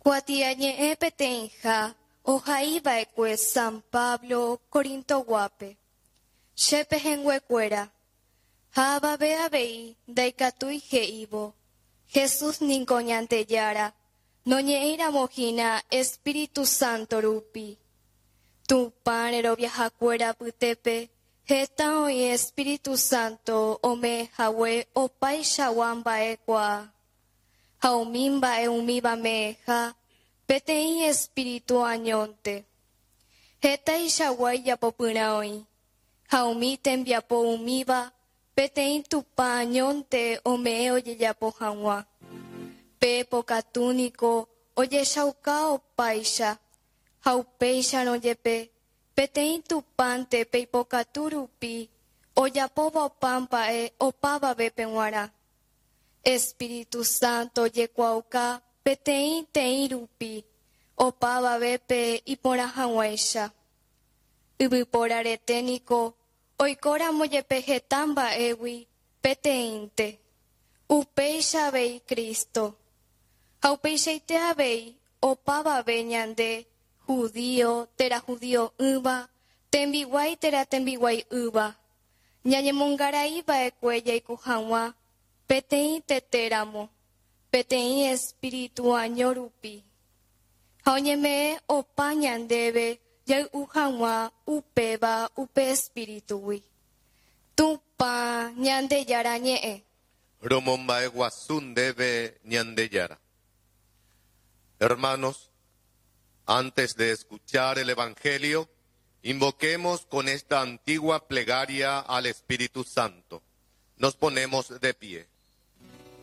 Kuatiañe'ẽ peteĩha ohaiva'ekue San Pablo Corintoguápe. Che pehẽnguekuéra, ha avave avei ndaikatúi he'ívo, Jesús niko Ñandejára, noñe'ẽiramo hína Espíritu Santo rupi. Tupã reroviahakuéra apytépe heta oĩ Espíritu Santo ome'ẽhague opaichagua mba'ekuaa. Ha umi mba'e umíva me'ẽha peteĩ Espíritu añónte. Hetaichagua ijapopyrã oĩ, ha umi tembiapo umíva peteĩ Tupã añónte ome'ẽ ojejapo hag̃ua. Pe pokatu niko ojechauka opáicha, ha upéicharõ jepe peteĩ Tupãnte pe ipokatu rupi ojapóva opa mba'e opavavépe g̃uarã. Espíritu Santo ojekuaauka peteĩ teĩ rupi opavavépe iporã hag̃uáicha. Yvypóra rete niko oikóramo jepe heta mba'égui peteĩnte. Upéicha avei Cristo. Ha upeichaite avei opavave ñande, judío térã judio'ỹva, tembiguái térã tembiguai'ỹva, Ñañemongarai va'ekue jaiko hag̃ua peteĩ tete ramo, peteĩ espíritu año rupi, ha oñeme'ẽ opa ñandéve jay'u hag̃ua upéva upe espíritugui. Tupã Ñandejára ñe'ẽ. Romomba'eguasu ndéve Ñandejára. Hermanos, antes de escuchar el Evangelio, Invoquemos con esta antigua plegaria al Espíritu Santo. Nos ponemos de pie.